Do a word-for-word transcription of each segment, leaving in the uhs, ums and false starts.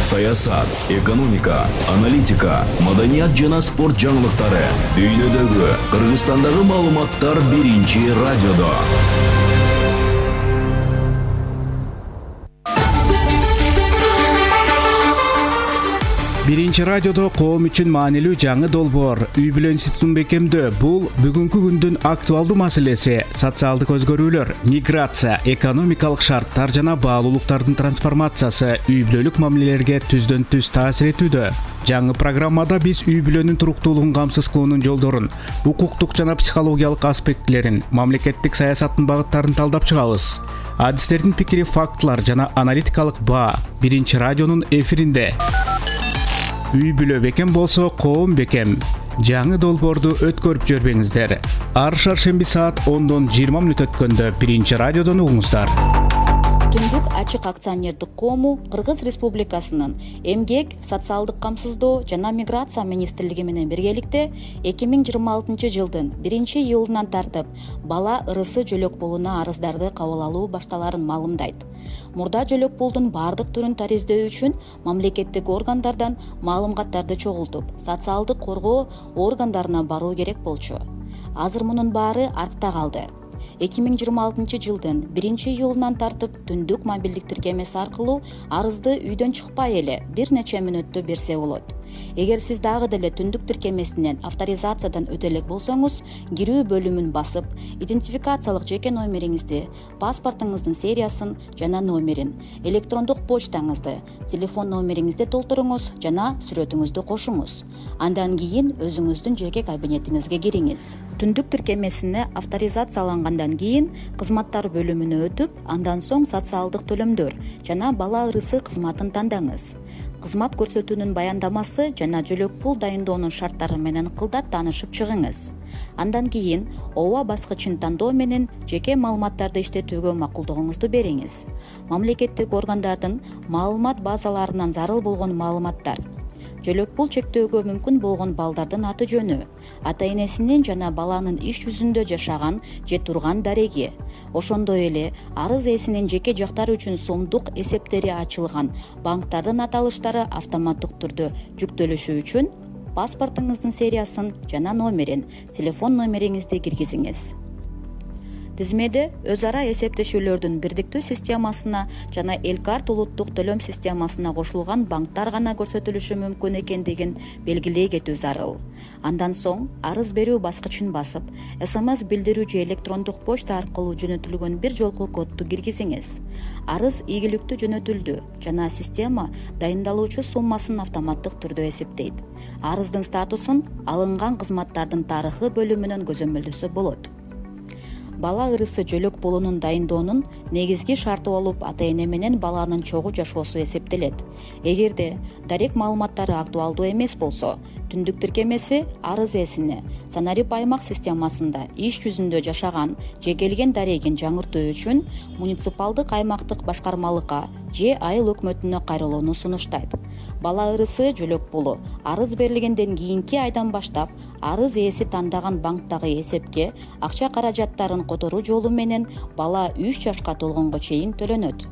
саясат, экономика, аналитика, маданият жана спорт жаңылыктары, дүйнөдөгү, Кыргызстандагы маалыматтар биринчи радиодо. Биринчи радиодо коом үчүн маанилүү жаңы долбоор үй бүлө институтун бекемдөө. Бул бүгүнкү күндүн актуалдуу маселеси. Социалдык өзгөрүүлөр, миграция, экономикалык шарттар жана баалуулуктардын трансформациясы үй бүлөлүк мамилелерге түздөн түз таасир этүүдө. Жаңы программада биз үй бүлөнүн туруктуулугун камсыз кылуунун жолдорун, укуктук жана психологиялык аспектилерин, мамлекеттик саясаттын багыттарын талдап чыгабыз. Адистердин пикири, фактылар жана аналитикалык баа Биринчи радионун эфиринде. Үй бүлө бекем болсо, коом бекем. Жаңы долбоорду өткөрүп жүрбөңүздөр. Ар шаршемби саат ондон жыйырма мүнөт өткөндө Биринчи радиодон угуңуздар. Түндүк ачык акционердик коому Кыргыз Республикасынын Эмгек, социалдык камсыздоо жана миграция министрлиги менен биргеликте эки миң жыйырма алтынчы жылдын биринчи июлунан тартып бала ырысы жөлөк пулуна арыздарды кабыл алуу башталарын маалымдайт. Мурда жөлөк пулдун бардык түрүн тариздөө үчүн мамлекеттик органдардан маалыматтарды чогултуп, социалдык коргоо органдарына баруу керек болчу. Азыр мунун баары артта калды. эки миң жыйырма алтынчы жылдын биринчи июлунан тартып түндүк мобилдик тиркемеси аркылуу арызды үйдөн чыкпай эле бир нече мүнөттө берсе болот. Эгер сиз дагы деле түндүк тиркемесинен авторизациядан өтө элек болсоңуз, кирүү бөлүмүн басып, идентификациялык жеке номериңизди, паспортуңуздун сериясын жана номерин, электрондук почтаңызды, телефон номериңизди толтуруңуз жана сүрөтүңүздү кошуңуз. Андан кийин өзүңүздүн жеке кабинетиңизге кириңиз. Түндүк тиркемесине авторизациялангандан кийин кызматтар бөлүмүнө өтүп, андан соң социалдык төлөмдөр жана бала ырысы кызматын тандаңыз. Кызмат көрсөтүүнүн баяндамасы жана жөлөк пул дайындоонун шарттары менен кылдат таанышып чыгыңыз. Андан кийин ооба баскычын тандоо менен жеке маалыматтарды иштетүүгө макулдугуңузду бериңиз. Мамлекеттик органдардын маалымат базаларынан зарыл болгон маалыматтар, жөлөк пул чектөөгө мүмкүн болгон балдардын аты жөнү, ата энесинин жана баланын иш жүзүндө жашаган же турган дареги, ошондой эле арыз ээсинин жеке жактары үчүн сомдук эсептери ачылган банктардын аталыштары автоматтык түрдө жүктөлүшү үчүн паспортуңуздун сериясын жана номерин, телефон номериңизди киргизиңиз. Тизмеде өз ара эсептешүүлөрдүн бирдиктүү системасына жана Элкарт улуттук төлөм системасына кошулган банктар гана көрсөтүлүшү мүмкүн экендигин белгилей кетүү зарыл. Андан соң арыз берүү баскычын басып, СМС билдирүү же электрондук почта аркылуу жөнөтүлгөн бир жолку кодду киргизиңиз. Арыз ийгиликтүү жөнөтүлдү жана система дайындалуучу суммасын автоматтык түрдө эсептейт. Арыздын статусун алынган кызматтардын тарыхы бөлүмүнөн көзөмөлдөсө болот. Бала ырысы жөлөк пулунун дайындоонун негизги шарты болуп, ата эне менен баланын чогуу жашоосу эсептелет. Эгерде дарек маалыматтары актуалдуу эмес болсо, түндүк тиркемеси арыз ээсине Санарип аймак системасында иш жүзүндө жашаган же келген дарегин жаңыртуу үчүн муниципалдык аймактык башкармалыкка же айыл өкмөтүнө кайрылууну сунуштайт. Бала ырысы жөлөк пулу арыз берилгенден кийинки айдан баштап арыз ээси тандаган банктагы эсепке акча каражаттарын которуу жолу менен бала үч жашка толгонго чейин төлөнөт.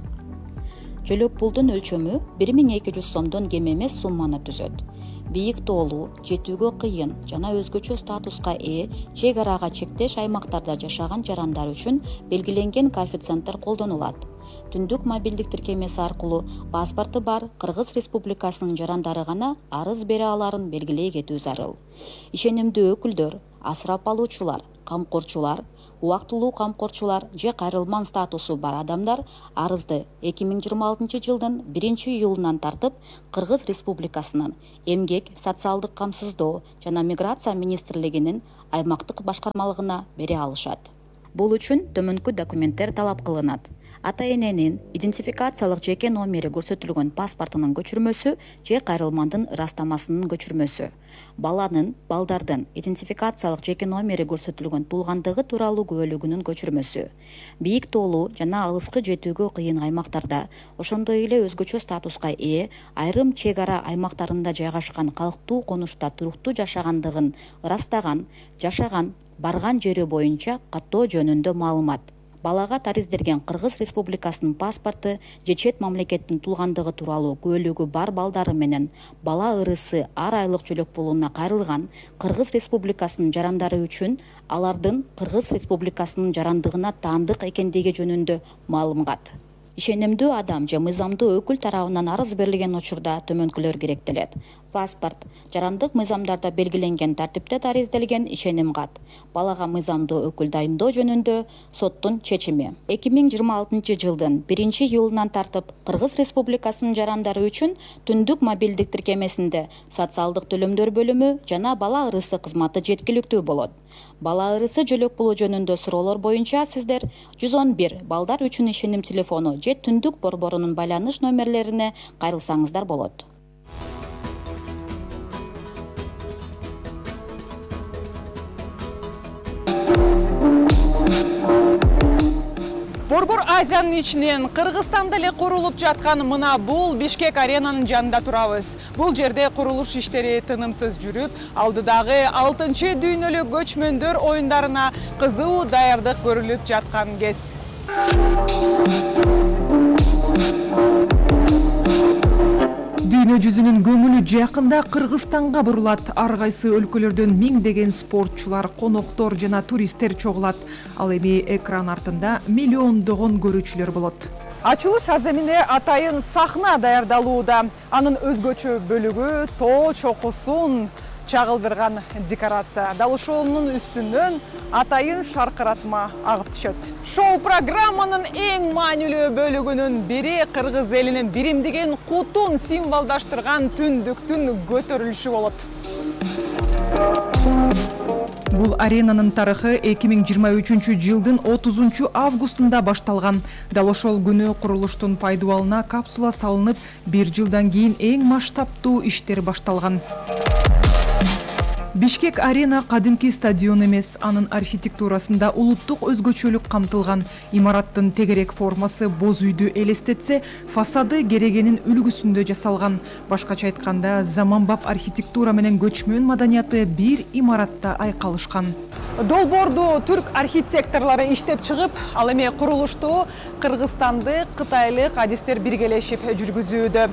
Жөлөк пулдун өлчөмү бир миң эки жүз сомдон кем эмес сумманы түзөт. Бийик тоолуу, жетүүгө кыйын жана өзгөчө статуска ээ чек арага чектеш аймактарда жашаган жарандар үчүн белгиленген коэффициенттер колдонулат. Түндүк мобилдик тиркемеси аркылуу паспорту бар Кыргыз Республикасынын жарандары гана арыз бере аларын белгилей кетүү зарыл. Ишенимдүү өкүлдөр, асырап алуучулар, камкорчулар, убактылуу камкорчулар же кайрылман статусу бар адамдар арызды эки миң жыйырма алтынчы жылдын биринчи июлунан тартып Кыргыз Республикасынын Эмгек, социалдык камсыздоо жана миграция министрлигинин аймактык башкармалыгына бере алышат. Бул үчүн төмөнкү документтер талап кылынат. Ата эненин идентификациялык жеке номери көрсөтүлгөн паспортунун көчүрмөсү же кайрылмандын ырастамасынын көчүрмөсү. Баланын, балдардын идентификациялык жеке номери көрсөтүлгөн туулгандыгы тууралуу күбөлүгүнүн көчүрмөсү. Бийик тоолуу жана алыскы жетүүгө кыйын аймактарда, ошондой эле өзгөчө статуска ээ айрым чек ара аймактарында жайгашкан калктуу конушта туруктуу жашагандыгын ырастаган, жашаган, барган жери боюнча каттоо жөнүндө маалымат. балага тариздерген Кыргыз Республикасынын паспорту же чет мамлекеттин туулгандыгы тууралуу күбөлүгү бар балдары менен бала ырысы ар айлык жөлөк пулуна кайрылган Кыргыз Республикасынын жарандары үчүн алардын Кыргыз Республикасынын жарандыгына таандык экендиги жөнүндө маалымат. Ишенимдүү адам же мыйзамдуу өкүл тарабынан арыз берилген учурда төмөнкүлөр керектелет. Паспорт, жарандык мыйзамдарда белгиленген тартипте тариздалген ишеним кат, балага мыйзамдуу өкүл дайындоо жөнүндө соттун чечими. эки миң жыйырма алтынчы жылдын биринчи июлунан тартып Кыргыз Республикасынын жарандары үчүн түндүк мобилдик тиркемесинде социалдык төлөмдөр бөлүмү жана бала ырысы кызматы жеткиликтүү болот. Бала ырысы жөлөк пулу жөнүндө суроолор боюнча сиздер жүз он бир балдар үчүн ишеним телефону же түндүк борборунун байланыш номерлерине кайрылсаңыздар болот. Борбор Азиянын ичинен Кыргызстанда эле курулуп жаткан мына бул Бишкек аренанын жанында турабыз. Бул жерде курулуш иштери тынымсыз жүрүп, алдыдагы алтынчы дүйнөлүк көчмөндөр оюндарына кызуу даярдык көрүлүп жаткан кез. Дүйнө жүзүнүн көңүлү жакында Кыргызстанга бурулат. Ар кайсы өлкөлөрдөн миңдеген спортчулар, коноктор жана туристтер чогулат. Ал эми экран артында миллиондогон көрүүчүлөр болот. Ачылыш аз эмне атайын сахна даярдалууда. Анын өзгөчө бөлүгү тоо чокусун чагылдырган декорация. Дал ошонун үстүнөн атайын шаркыратма агып түшөт. Шоу программанын эң маанилүү бөлүгүнүн бири кыргыз элинин биримдигин кутун символдаштырган түндүктүн көтөрүлүшү болот. Бул аренанын тарыхы эки миң жыйырма үчүнчү жылдын отузунчу августунда башталган. Дал ошол күнү курулуштун пайдубалына капсула салынып, бир жылдан кийин эң масштабтуу иштер башталган. Бишкек арена кадимки стадион эмес, анын архитектурасында улуттук өзгөчөлүк камтылган. Имараттын тегерек формасы боз үйдү элестетсе, фасады керегенин үлгүсүндө жасалган. Башкача айтканда, заманбап архитектура менен көчмөн маданияты бир имаратта айкалышкан. Долбоорду түрк архитекторлору иштеп чыгып, ал эми курулушту кыргызстандык, кытайлык адистер биргелешип жүргүзүүдө.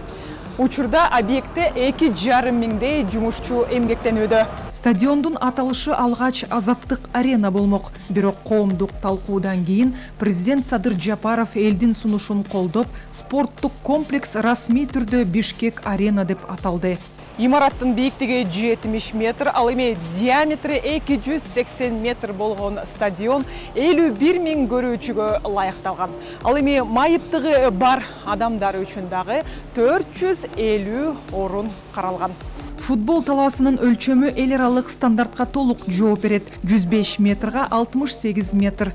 Учурда объектте эки жарым миңдей жумушчу эмгектенүүдө. Стадиондун аталышы алгач Азаттык арена болмок. Бирок коомдук талкуудан кийин президент Садыр Жапаров элдин сунушун колдоп, спорттук комплекс расмий түрдө Бишкек арена деп аталды. Имараттын бийиктиги жетимиш метр, ал эми диаметри эки жүз сексен метр болгон стадион элүү бир миң көрүүчүгө ылайыкталган. Ал эми майыптыгы бар адамдар үчүн дагы төрт жүз элүү орун каралган. Футбол талаасынын өлчөмү эл аралык стандартка толук жооп берет. жүз беш метрга алтымыш сегиз метр.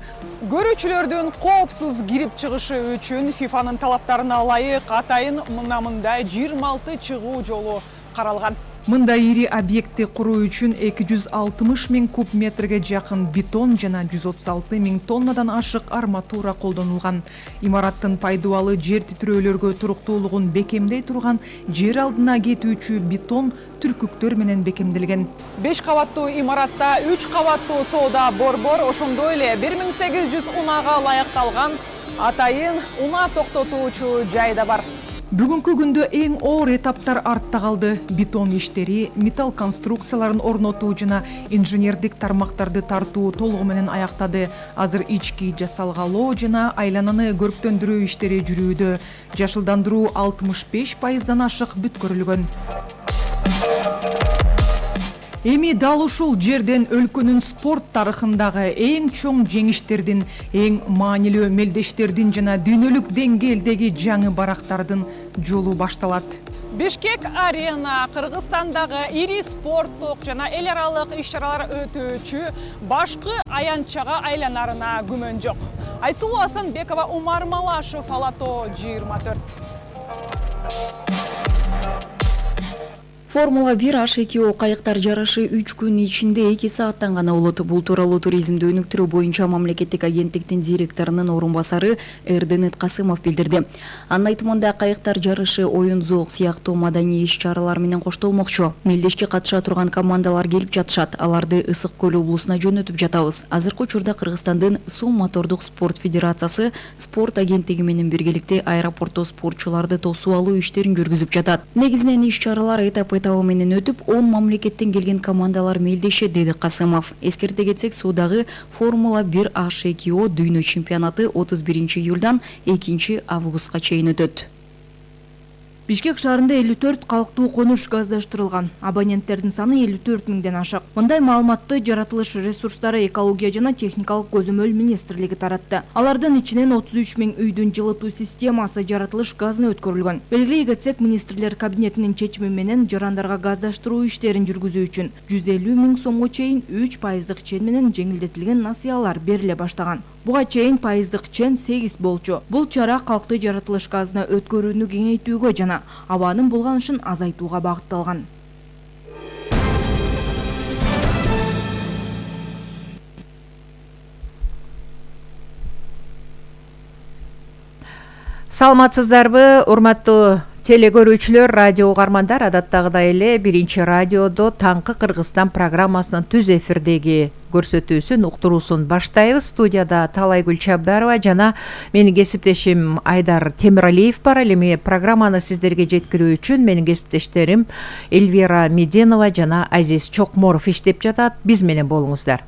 Көрүүчүлөрдүн коопсуз кирип чыгышы үчүн ФИФАнын талаптарына ылайык атайын мына мындай жыйырма алты чыгуу жолу каралган. Мындай ири объектти куруу үчүн эки жүз алтымыш миң куб метрге жакын бетон жана жүз отуз алты миң тоннадан ашык арматура колдонулган. Имараттын пайдубалы жер титирөөлөргө туруктуулугун бекемдей турган жер алдына кетүүчү бетон түркүктөр менен бекемделген. беш кабаттуу имаратта үч кабаттуу соода борбор, ошондой эле бир миң сегиз жүз унага ылайыкталган атайын унаа токтотуучу жай да бар. Бүгүнкү күндө эң оор этаптар артта калды. Бетон иштери, металл конструкцияларын орнотуу жана инженердик тармактарды тартуу толугу менен аяктады. Азыр ички жасалгалоо жана айлананы көрктөндүрүү иштери жүрүүдө. Жашылдандыруу алтымыш беш пайыздан ашык бүткөрүлгөн. Эми дал ушул жерден өлкөнүн спорт тарыхындагы эң чоң жеңиштердин, эң маанилүү мелдештердин жана дүйнөлүк деңгээлдеги жаңы барактардын жолу башталат. Бишкек арена Кыргызстандагы ири спорттук жана эл аралык иш-чаралар өтүүчү башкы аянтчага айланарына күмөн жок. Айсулуу Асанбекова, Умар Малашев, Ала тоо жыйырма төрт. Формула бир H эки O кайыктар жарышы үч күн ичинде эки сааттан гана болот. Бул тууралуу туризмди өнүктүрүү боюнча мамлекеттик агенттиктин директорунун орун басары Эрденет Касымов билдирди. Анын айтымында кайыктар жарышы оюн зоок сыяктуу маданий иш-чаралар менен коштолмокчу. Мелдешке катыша турган командалар келип жатышат. Аларды Ысык көл облусуна жөнөтүп жатабыз. Азыркы учурда Кыргызстандын Суу мотордук спорт федерациясы спорт агенттиги менен биргеликте аэропортто спортчуларды тосуп алуу иштерин жүргүзүп жатат. Негизинен иш-чаралар этап этабы менен өтүп, он мамлекеттен келген командалар мелдешет, деди Касымов. Эскерте кетсек, суудагы Формула бир H эки O дүйнө чемпионаты отуз биринчи июлдан экинчи августка чейин өтөт. Бишкек шаарында элүү төрт калктуу конуш газдаштырылган. Абоненттердин саны элүү төрт миңден ашык. Мындай маалыматты Жаратылыш ресурстары, экология жана техникалык көзөмөл министрлиги таратты. Алардын ичинен отуз үч миң үйдүн жылытуу системасы жаратылыш газына өткөрүлгөн. Белгилей кетсек, министрлер кабинетинин чечими менен жарандарга газдаштыруу иштерин жүргүзүү үчүн жүз элүү миң сомго чейин үч пайыздык чен менен жеңилдетилген насыялар бериле баштаган. Буга чейин пайыздык чен сегиз болчу. Бул чара калкты жаратылыш газына өткөрүүнү кеңейтүүгө жана абанын булганышын азайтууга багытталган. Саламатсыздарбы, урматтуу теле-көрүүчүлөр, радио угармандар, адаттагыдай эле биринчи радиодо таңкы Кыргызстан программасынын түз эфирдеги көрсөтүүсүн, уктуруусун баштайбыз. Студияда Талайгүл Чабдарова жана менин кесиптешим Айдар Темиралиев бар. Ал эми программаны сиздерге жеткирүү үчүн менин кесиптештерим Эльвира Меденова жана Азиз Чокморов иштеп жатат. Биз менен болуңуздар.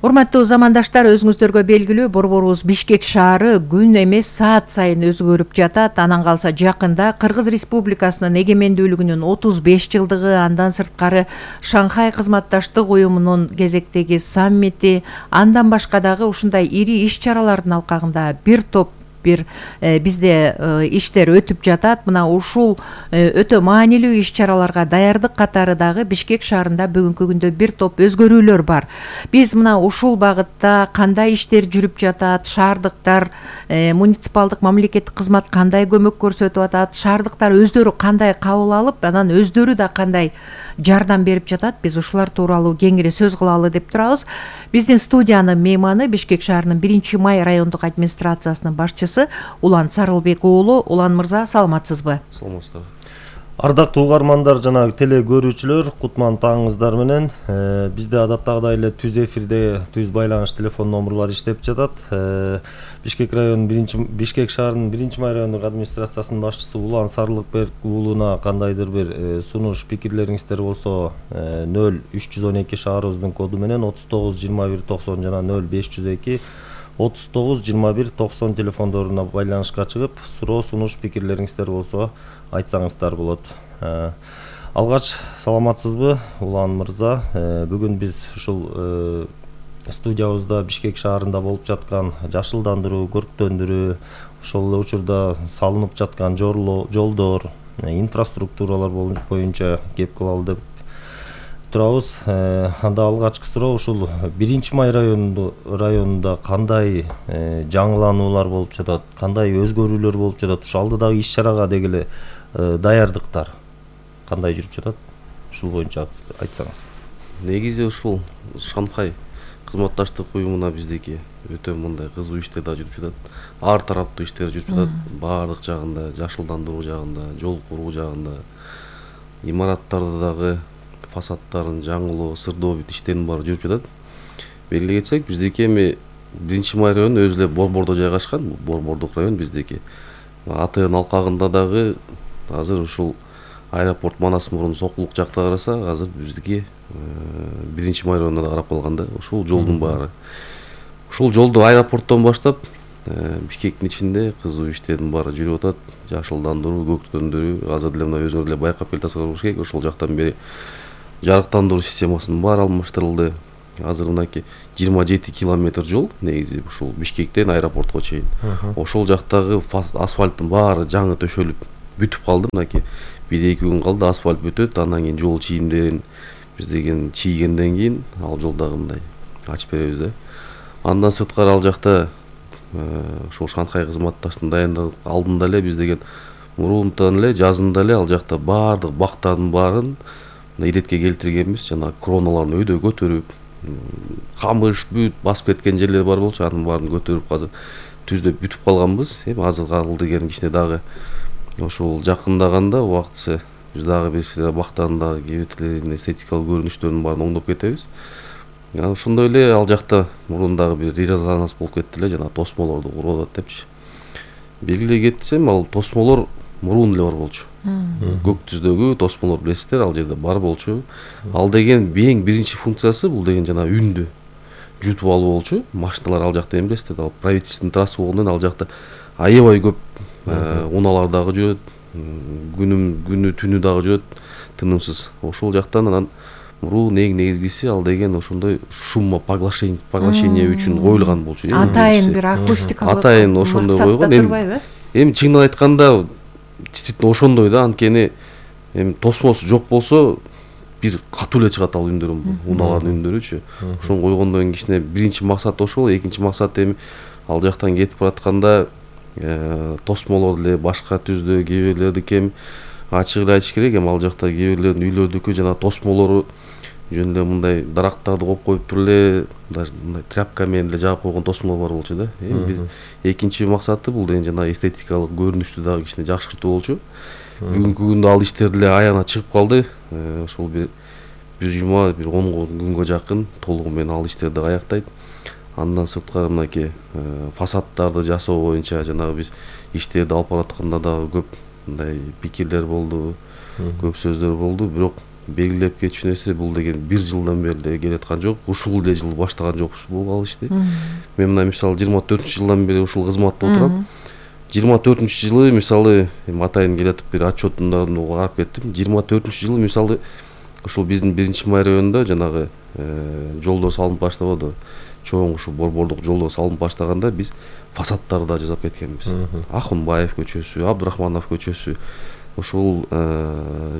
Урматтуу замандаштар, өзүңүздөргө белгилүү, борборубуз Бишкек шаары күн эмес саат сайын өзгөрүп жатат. Анан калса жакында Кыргыз Республикасынын эгемендүүлүгүнүн отуз беш жылдыгы, андан сырткары Шанхай кызматташтык уюмунун кезектеги саммити, андан башка дагы ушундай ири иш-чаралардын алкагында бир топ бир э, бизде э, иштер өтүп жатат. Мына ушул э, өтө маанилүү иш-чараларга даярдык катары дагы Бишкек шаарында бүгүнкү күндө бир топ өзгөрүүлөр бар. Биз мына ушул багытта кандай иштер жүрүп жатат, шаардыктар, э, муниципалдык мамлекеттик кызмат кандай көмөк көрсөтүп атат, шаардыктар өздөрү кандай кабыл алып, анан өздөрү да кандай жардам берип жатат, биз ушулар тууралуу кеңири сөз кылалы деп турабыз. Биздин студиянын мейманы Бишкек шаарынын биринчи май райондук администрациясынын башчысы Улан Сарылбек уулу. Улан мырза, саламатсызбы? Саламатсыздар. Ардактуу угармандар жана теле көрүүчүлөр, кутман таңыңыздар менен. Э, бизде адаттагыдай эле түз эфирде түз байланыш телефон номерлары иштеп жатат. Э, Бишкек районунун биринчи Бишкек шаарынын биринчи май райондук администрациясынын башчысы Улан Сарылбек уулуна кандайдыр бир э, сунуш, пикирлериңиздер болсо э, нөл үч жүз он эки шаарыбыздын коду менен отуз тогуз жыйырма бир токсон жана нөл беш жүз эки отуз тогуз жыйырма бир токсон телефондоруна байланышка чыгып, суроо, сунуш, пикирлериңиздер болсо айтсаңыздар болот. Э, алгач, саламатсызбы, Улан мырза? Э, бүгүн биз ушул э, студиябызда Бишкек шаарында болуп жаткан жашылдандыруу, көрктөндүрүү, ошол эле учурда салынып жаткан жолдор, инфраструктуралар боюнча кеп кылалы деп турабыз. Анда алгачкы суроо, ушул биринчи май районунда районунда кандай жаңылануулар болуп жатат, кандай өзгөрүүлөр болуп жатат, ушул алдыдагы иш-чарага деги эле даярдыктар кандай жүрүп жатат? Ушул боюнча айтсаңыз. Негизи ушул Шанхай кызматташтык уюмуна биздеки өтө мындай кызуу иштер да жүрүп жатат. Ар тараптуу иштер жүрүп жатат. Баардык жагында, жашылдандыруу жагында, жол куруу жагында, имараттарды дагы фасадтарын жаңылоо, сырдоо бүт иштердин баары жүрүп жатат. Белгилей кетсек, биздеки эми биринчи май району өзү эле борбордо жайгашкан, борбордук район биздеки. АТН алкагында дагы азыр ушул аэропорт Манас мурун Сокулук жакта караса, азыр биздики биринчи май районуна да карап калганда ушул жолдун баары. Ушул жолду аэропорттон баштап Бишкектин ичинде кызуу иштердин баары жүрүп атат. Жашылдандыруу, көктөндүрүү, азыр деле мына өзүңөр деле байкап келатсыңар керек. Ошол жактан бери жарыктандыруу системасынын баары алмаштырылды. Азыр мынакей жыйырма жети километр жол негизи ушул Бишкектен аэропортко чейин. Ошол жактагы асфальттын баары жаңы төшөлүп бүтүп калды. Мынакей бир эки күн калды, асфальт бүтөт, андан кийин жол чийимдерин биз деген чийгенден кийин ал жолдагы мындай ачып беребиз да. Андан сырткары ал жакта ошол Шанхай кызматташтын дайындык алдында эле биз деген мурунтан эле жазында эле ал жакта баардык бактардын баарын иретке келтиргенбиз. Жана кроналарын өйдө көтөрүп, камыш бүт басып кеткен жерлер бар болчу, анын баарын көтөрүп азыр түздөп бүтүп калганбыз. Эми азыр калды деген кичине дагы ошол жакындаганда убактысы биз дагы бир бактардын дагы кээ биртерин эстетикалык көрүнүштөрүнүн баарын оңдоп кетебиз. Ошондой эле ал жакта мурун дагы бир резонанс болуп кетти эле, жана тосмолорду куруп атат депчи. Белгилей кетсем, ал тосмолор мурун эле бар болчу. Көк түздөгү тосмолор билесиздер, ал жерде бар болчу. Ал деген эң биринчи функциясы бул деген жана үндү жутуп алуу болчу. Машиналар ал жакта эми билесиздер, ал правительственный трасса болгондон ал жакта аябай көп унаалар дагы жүрөт, күнүм күнү түнү дагы жүрөт тынымсыз. Ошол жактан анан мурун эң негизгиси ал деген ошондой шуммо поглощение поглощение үчүн коюлган болчу. Атайын бир акустикалык атайын ошондой койгон. Эми чындап айтканда действительно ошондой да, анткени эми тосмосу жок болсо бир катуу эле чыгат ал үндөр, унаалардын үндөрүчү. Ошону койгондон кийин кичине биринчи максат ошол, экинчи максат эми ал жактан кетип баратканда тосмолор эле башка түздө кээ бирлердики эми ачык эле айтыш керек, эми ал жакта кээ бирлердин үйлөрдүкү жана тосмолору жөн эле мындай дарактарды коюп коюп туруп эле даже мындай тряпка менен эле жаап койгон тосмолор бар болчу да. Эми бир экинчи максаты бул деген жана эстетикалык көрүнүштү дагы кичине жакшыртуу болчу. Бүгүнкү күндө ал иштер деле аягына чыгып калды. Ошол бир бир жума, бир он күнгө жакын толугу менен ал иштерди аяктайт. Андан сырткары мынакей фасаддарды жасоо боюнча жанагы биз иштерди алып баратканда дагы көп мындай пикирлер болду, көп сөздөр болду, бирок белгилеп кетчү нерсе бул деген бир жылдан бери эле келаткан жок, ушул эле жыл баштаган жокпуз бул ал ишти. Мен мына мисалы жыйырма төртүнчү жылдан бери ушул кызматта отурам. жыйырма төртүнчү жылы мисалы эми атайын келатып бир отчеттун карап кеттим. жыйырма төртүнчү жылы мисалы ушул биздин биринчи май районунда жанагы жолдор салынып баштабады. Чоң ушул борбордук жолдор салынып баштаганда биз фасадтарды да жасап кеткенбиз. Ахунбаев көчөсү, Абдурахманов көчөсү, ушул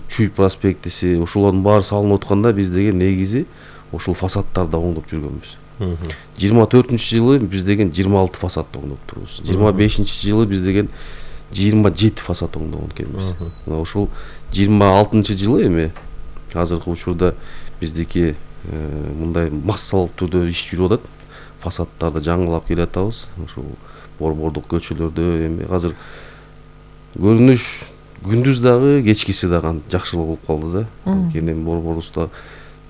Чүй проспектиси, ушулардын баары салынып атканда биз деген негизи ушул фасадтарды оңдоп жүргөнбүз. жыйырма төртүнчү жылы биз деген жыйырма алты фасадты оңдоп турбуз. жыйырма бешинчи жылы биз деген жыйырма жети фасад оңдогон экенбиз. Ушул жыйырма алтынчы жылы эми азыркы учурда биздики мындай массалык түрдө иш жүрүп атат. Фасадтарды жаңылап келатабыз. Ушул борбордук көчөлөрдө эми азыр көрүнүш күндүз дагы, кечкиси дагы жакшылык болуп калды да. Анткени борборубузда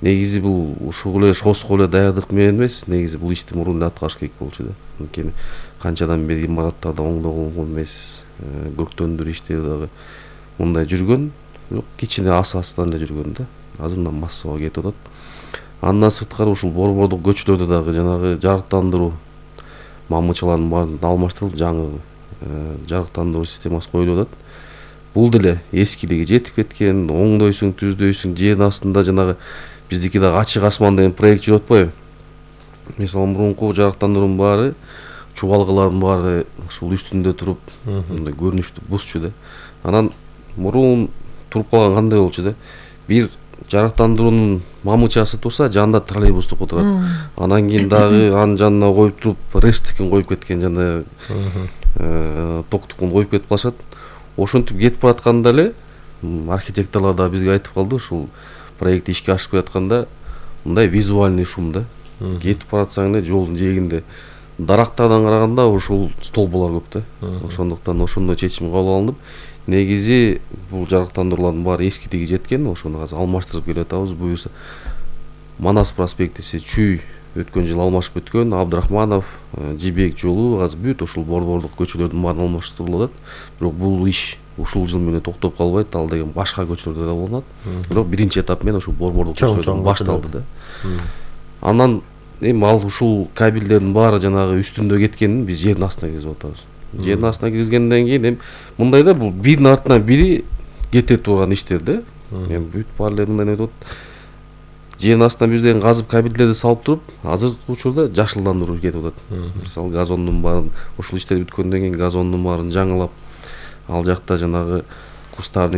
негизи бул ушул эле шоско эле даярдык менен эмес, негизи бул ишти мурун эле аткарыш керек болчу да. Анткени канчадан бери имараттарды оңдогон эмес, көктөндүр иштери дагы мындай жүргөн, бирок кичине ас-астан эле жүргөн да. Азырдан массага кетип атат. Андан сырткары ушул борбордук көчөлөрдө дагы жанагы жарыктандыруу мамычалардын баарын алмаштырылып, жаңы жарыктандыруу системасы коюлуп атат. Бул деле эскилиги жетип кеткен, оңдойсуң, түздөйсүң, жердин астында жанагы биздики дагы ачык асман деген проект жүрүп атпайбы? Мисалы мурунку жарыктандыруунун баары, чубалгылардын баары ушул үстүндө туруп, мындай көрүнүштү бузчу да. Анан мурун туруп калган кандай болчу да? Бир жарыктандыруунун мамычасы турса, жанында троллейбустук отурат. Анан кийин дагы анын жанына коюп туруп, рестикин коюп кеткен жана токтукун коюп кетип калышат. Ошентип кетип баратканда эле архитекторлор да бизге айтып калды, ушул проект ишке ашып келатканда мындай визуальный шум да. Кетип баратсаң эле жолдун жээгинде дарактардан караганда ушул столболор көп да. Ошондуктан ошондой чечим кабыл алынып, негизи бул жарыктандыруулардын баары эскилиги жеткен, ошону азыр алмаштырып келатабыз. Буюрса Манас проспектиси, Чүй өткөн жыл алмашып өткөн, Абдурахманов, Жибек жолу азыр бүт ушул борбордук көчөлөрдүн баары алмаштырылып атат. Бирок бул иш ушул жыл менен токтоп калбайт, ал деген башка көчөлөрдө да болот. Бирок биринчи этап менен ушул борбордук көчөлөрдөн башталды да. Андан эми ал ушул кабелдердин баары жанагы үстүндө кеткенин биз жердин астына киргизип атабыз. Жердин астына киргизгенден кийин эми мындай да, бул биринин артынан бири кете турган иштер да. Эми бүт баары эле мындай өтүп атат. Жердин астынан биз деген казып кабелдерди салып туруп, азыркы учурда жашылдандыруу кетип атат. Мисалы газондун баарын, ушул иштер бүткөндөн кийин газондун баарын жаңылап, ал жакта жанагы кустардын